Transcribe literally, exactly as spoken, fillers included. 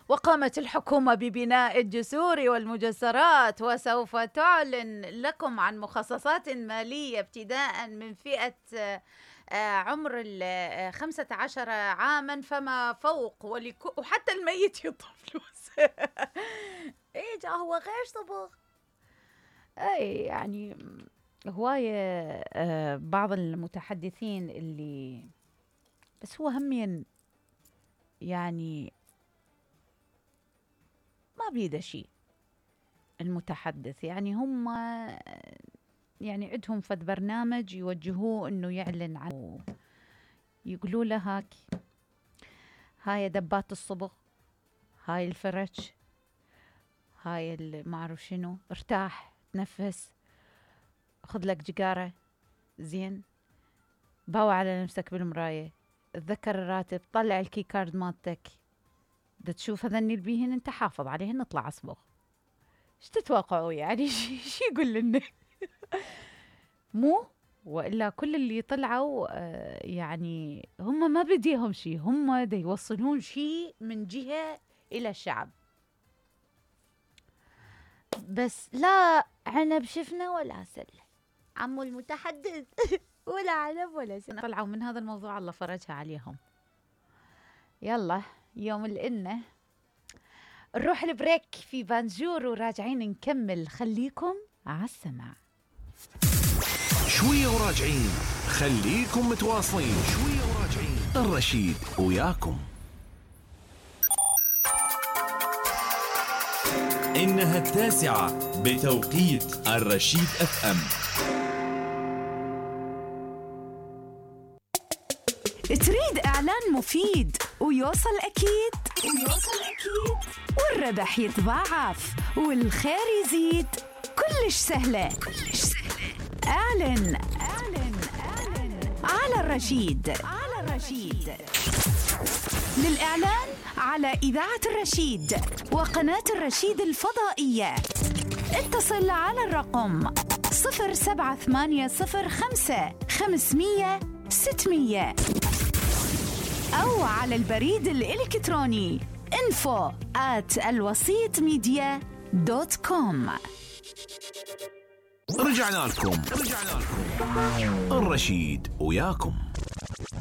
وقامت الحكومة ببناء الجسور والمجسرات، وسوف تعلن لكم عن مخصصات مالية ابتداء من فئة عمر الخمسة عشر عاما فما فوق، وحتى الميت يطلب فلوس. ايه جا هو غير صبغ. اي يعني هواية بعض المتحدثين اللي بس هو همين يعني ما بيده شيء المتحدث، يعني هم يعني عندهم فد برنامج يوجهوه انه يعلن عنه، يقولوا له هاك هاي دبات الصبغ، هاي الفرش، هاي ما اعرف شنو، ارتاح تنفس، خذ لك جقارة زين، باوع على نفسك بالمراية، تذكر الراتب، طلع الكي كارد مالتك، دا تشوف هذني البيهن انت حافظ عليهن، نطلع اصبغ. ايش تتوقعوا يعني؟ شو يقول لنا؟ مو والا كل اللي طلعوا آه يعني هم ما بديهم شيء، هم دا يوصلون شيء من جهة الى الشعب، بس لا عنب شفنا ولا سل عمو المتحدث. ولا عنب ولا سل. طلعوا من هذا الموضوع الله فرجها عليهم. يلا يوم الإنة نروح البريك في بانجور وراجعين نكمل، خليكم على السمع. شوية وراجعين، خليكم متواصلين. شوية وراجعين، الرشيد وياكم. إنها التاسعة بتوقيت الرشيد اف ام. تريد إعلان مفيد ويوصل أكيد ويوصل أكيد والربح يتضاعف والخير يزيد، كلش سهلة كلش سهلة. اعلن اعلن اعلن على الرشيد على الرشيد. للإعلان على إذاعة الرشيد وقناة الرشيد الفضائية اتصل على الرقم صفر سبعة ثمانية صفر خمسة خمسمية ستمية أو على البريد الإلكتروني info at الوسيط ميديا دوت كوم. رجعنا لكم رجعنا لكم الرشيد وياكم.